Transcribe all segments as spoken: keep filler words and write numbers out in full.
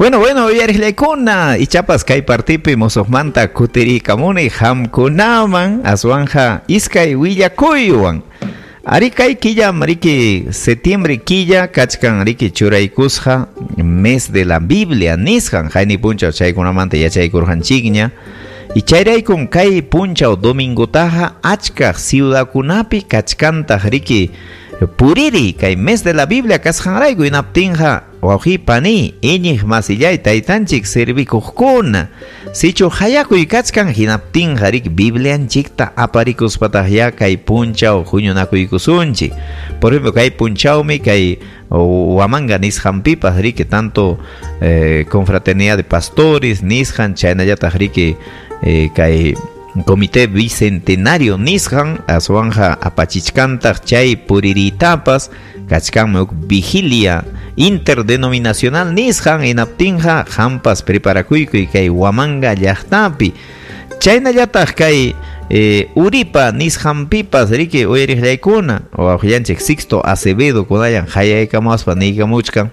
Bueno, bueno, uyariqllaykuna, ichapas kay partipi musuqmanta kutiriykamuni hamkunaman aswanja iskay willakuywan. Ari kay killam riki septiembre killa kachkan riki churaykusqa mes de la Biblia nisqan hayni punchaw chaykunamanta yachaykurqanchikña. Y chayraykum kay punchaw domingotaqa achkaq ciudadkunapi kachkantaq riki puriri kay mes de la Biblia kasqanrayku hinaptinqa wawqi pani iñiq masillay taytanchik servikuqkuna sichu hayakuy kachkan hinaptinqa riki Biblianchikta aparikuspataq ya kay punchaw huñunakuykusunchik. Por ejemplo, kay punchawmi kay Huamanga nisqanpipas riki tanto eh, confraternidad de pastores nisqan chaynallataq riki eh, kay Comité Bicentenario nisqan aswanja apachichkantaq chay puriritapas kachkanmi huk vigilia interdenominacional nisqan hinaptinqa hampas preparakuykuy kay Huamanga llaqtapi chaynallataq kay eh, Uripa nisqanpipas riki uyariqllaykuna wawqillanchik Sixto Acevedo kunayan hayaykamuspa niykamuchkan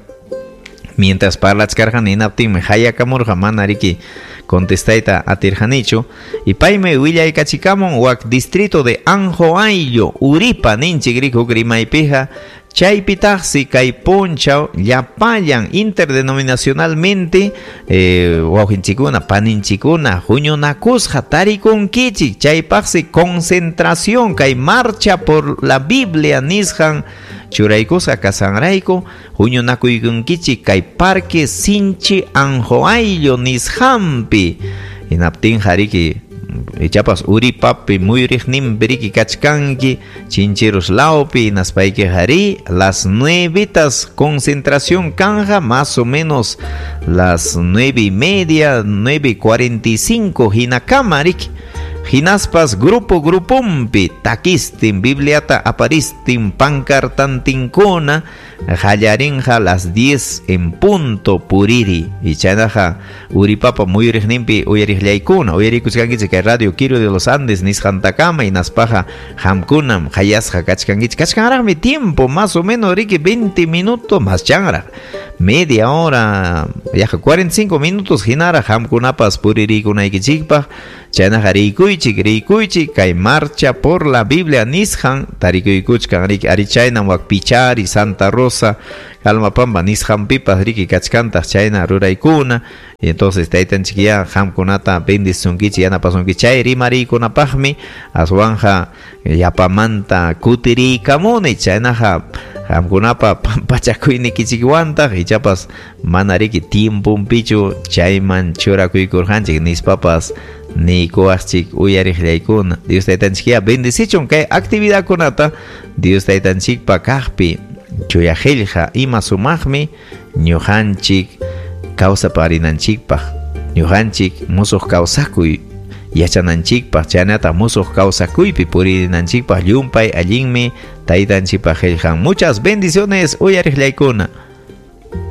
mientras parlachkarqan hinaptinmi hayakamurqa mana riki contestayta atirqanichu y paymi willaykachikamun wak distrito de Anjoayllo Uripa ninchik riki huk rimaypiqa chaypitaqsi kay punchaw llapallan interdenominacionalmente eh, wawqinchikuna paninchikuna huñunakusqa tarikunkichik chaypaqsi concentración kay marcha por la Biblia nisqan churaykusqa kasqanrayku huñunakuykunkichik kay parque Sinchi Anjoayllo nisqanpi hinaptinqa riki ichapas Uripapi muyuriqninpi riki kachkanki Chincheros lawpi hinaspaykiqa ri las nuevitas concentración kanja más o menos las nueve y media, nueve y cuarenta y cinco hinakama riki hinaspas grupo grupumpi takistin Bibliata aparistin pancartantinkuna hallarinja las diez en punto puriri y chaynaqa Uripapa muyuriqninpi uyariqllaykuna uyarikuchkankichik kay Radio Quiro de los Andes nisqantakama hinaspaqa hamkunam hayasqa kachkankichik kachkanraqmi tiempo más o menos riki veinte minutos más chanraq media hora yaqa cuarenta y cinco minutos hinaraq hamkunapas puririykunaykichikpaq chaynaqa riykuychik riykuychik kay marcha por la Biblia nisqan tarikuykuchkan riki ari chaynam wak Pichari Santa Rosa Calmapampa nisqanpipas riki kachkantaq chayna ruraykuna y entonces taytanchik ya hamkunata bendisunkichik yanapasunkichik chay rimariykunapaqmi aswanja yapamanta kutiriykamuni chaynaqa hamkunapa pampachakuynikichikwantaq ichapas mana riki tiemponpichu chayman churakuykurqanchik nispapas niykuwaqchik uyariqllaykuna Dios taytanchik ya bendicichun kay actividadkunata Dios taytanchikpa kaqpi chuya qillqa ima sumaqmi ñuqanchik kawsaparinanchikpaq ñuqanchik musuq kawsakuy yachananchikpaq chaynata musuq kawsakuypi purinanchikpaq llumpay allinmi taytanchikpaq qillqan. Muchas bendiciones uyariqllaykuna.